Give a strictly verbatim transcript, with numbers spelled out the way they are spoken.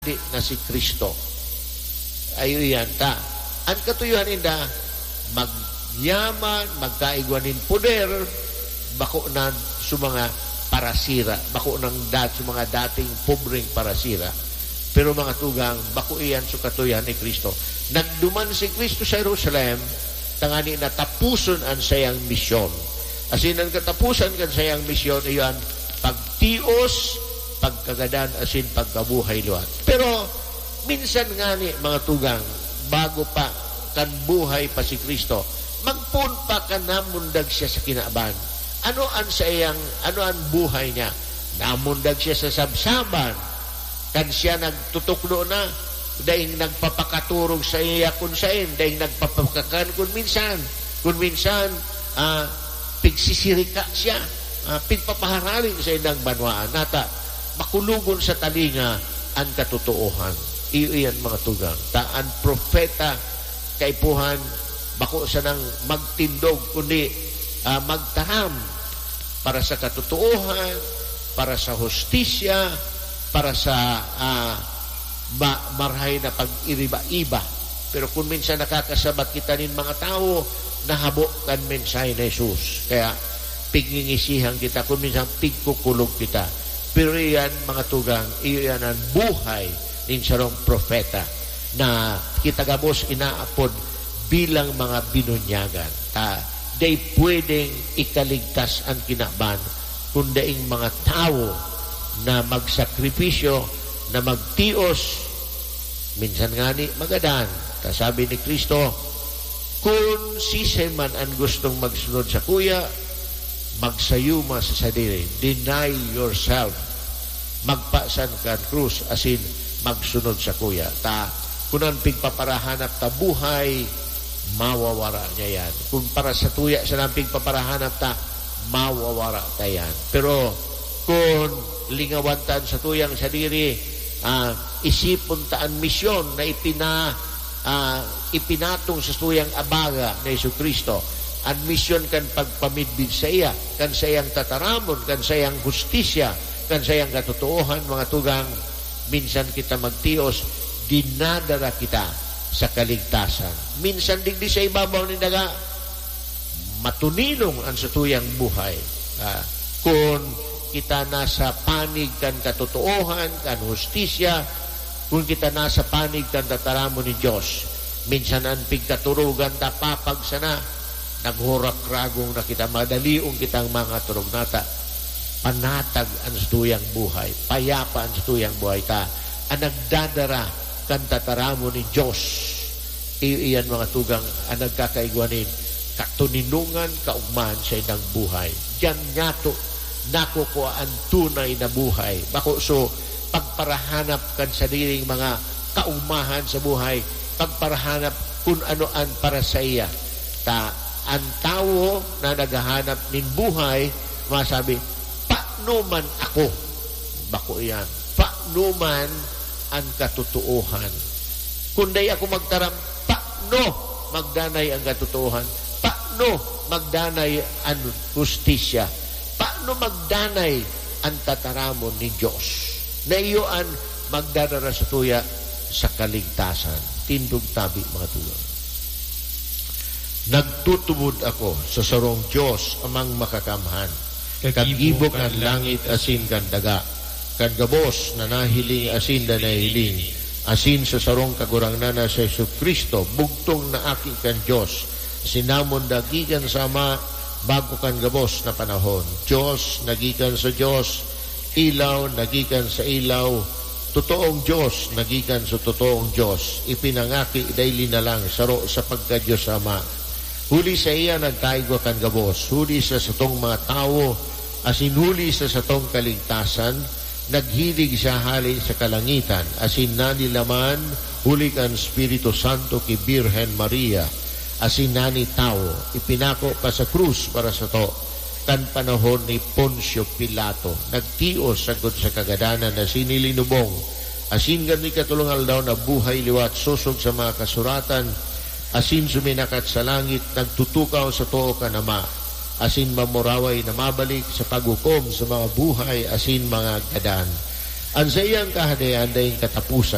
na si Cristo. Ayo iyan ta. An katuyohan ninda, magyaman, magkaigwa nin poder, bako na sa mga parasira, bako nang dat-, sa mga dating pobreng parasira. Pero mga tugang, bako iyan sa katuyohan ni Cristo. Nagduman si Cristo sa Jerusalem, tangani na tapuson an sayang misyon. Asin an katapusan kan sayang misyon, iyan pagtios, pagkagadan, asin pagkabuhay liwat. Pero minsan ngani, mga tugang, bago pa kan buhay pa si Cristo, magpoon pa kan namundag siya sa kinaban. Ano an saiyang, ano an buhay niya? Namundag siya sa sabsaban. Kan siya nagtutukdo na, daing nagpapakaturog sa iya kun saen, daing nagpapakakan kun minsan. Kun minsan, ah, pigsisirika siya, ah, pigpapaharali sa indang banwaan. Nata, makulogon sa talinga an katotoohan. Iyo iyan, mga tugang. Ta an propeta, kaipuhan, bako sanang magtindog, kundi, ah, magtaram para sa katotoohan, para sa hustisya, para sa, ah, ma-, marahay na pag-iriba-iba. Pero kun minsan nakakasabat kita nin mga tawo na habo kan mensahe ni Jesus. Kaya pigngingisihan kita, kun minsan pigkukulog kita. Pero iyan, mga tugang, iyo iyan an buhay nin sarong propeta na kita gabos inaapod bilang mga binunyagan. Ta, dai pwedeng ikaligtas an kinaban kun daing mga tawo na magsakripisyo, na magtios, minsan ngani magadan. Ta sabi ni Cristo, "Kun siisay man an gustong magsunod sakuya, magsayuma sa sadiri, deny yourself, magpasan kan krus, asin magsunod sakuya." Ta, kun an pigpaparahanap ta buhay, mawawara niya yan. Kun para sa tuya sana an pigpaparahanap ta, mawawara ta yan. Pero kun lingawan ta an satuyang sadiri, ah, isipon ta an misyon na ipina-, ah, ipinatong sa satuyang abaga na Jesu-Cristo, an misyon kan pagpamidbid saiya, kan saiyang tataramon, kan saiyang hustisya, kan saiyang katotoohan, mga tugang, minsan kita magtios, dinadara kita sa kaligtasan. Minsan digdi sa ibabaw nin daga, matuninong an satuyang buhay. Ah, kun kita nasa panig kan katotoohan, kan hustisya, kun kita nasa panig kan tataramon nin Dios, minsan an pigkaturugan ta papag sana, naghurak-ragong na kita, madalion kitang mga turog nata. Panatag an satuyang buhay, payapa an satuyang buhay ta, an nagdadara kan tataramon nin Dios. Iyo iyan, mga tugang, an nagkakaigwa nin katoninongan, kaogmahan sa indang buhay. Diyan niyato nakukua an tunay na buhay. Bako so pagparahanap kan sadiring mga kaogmahan sa buhay, pagparahanap kun ano an para saiya. Ta, an tawo na naghahanap nin buhay, masabi, "Paano man ako?" Bako iyan. "Paano man an katotoohan? Kun dai ako magtaram, paano magdanay an katotoohan? Paano magdanay an hustisya? Paano magdanay an tataramon nin Dios?" Na iyo an magdadara satuya sa kaligtasan. Tindog tabi, mga tugang. Nagtutubod ako sa sarong Dios, Amang Makakamhan, kagibo kan langit asin kan daga, kan gabos na nahiling asin na nahiling, asin sa sarong Kagurangnan na si Jesu-Cristo, bugtong na Aki kan Dios, sinamonda gikan sa Ama bago kan gabos na panahon. Dios na gikan sa Dios, ilaw na gikan sa ilaw, totoong Dios na gikan sa totoong Dios, ipinangaki dai linalang, saro sa pagka-Dios Ama. Huli saiya nagkaigwa kan gabos, huli sa satong mga tawo, asin huli sa satong kaligtasan, naghilig siya hale sa kalangitan, asin nanilaman huli kan Espiritu Santo ki Birhen Maria, asin nanitawo, ipinako pa sa krus para sato, kan panahon ni Poncio Pilato, nagtios sagkod sa kagadanan asin ilinubong, asin kan ikatolong aldaw nabuhay liwat sosog sa mga kasuratan, asin suminakat sa langit, nagtutukaw sa too kan Ama, asin mamuraway na mabalik sa paghukom sa mga buhay asin mga gadan. An saiyang Kahadean daing kataposan.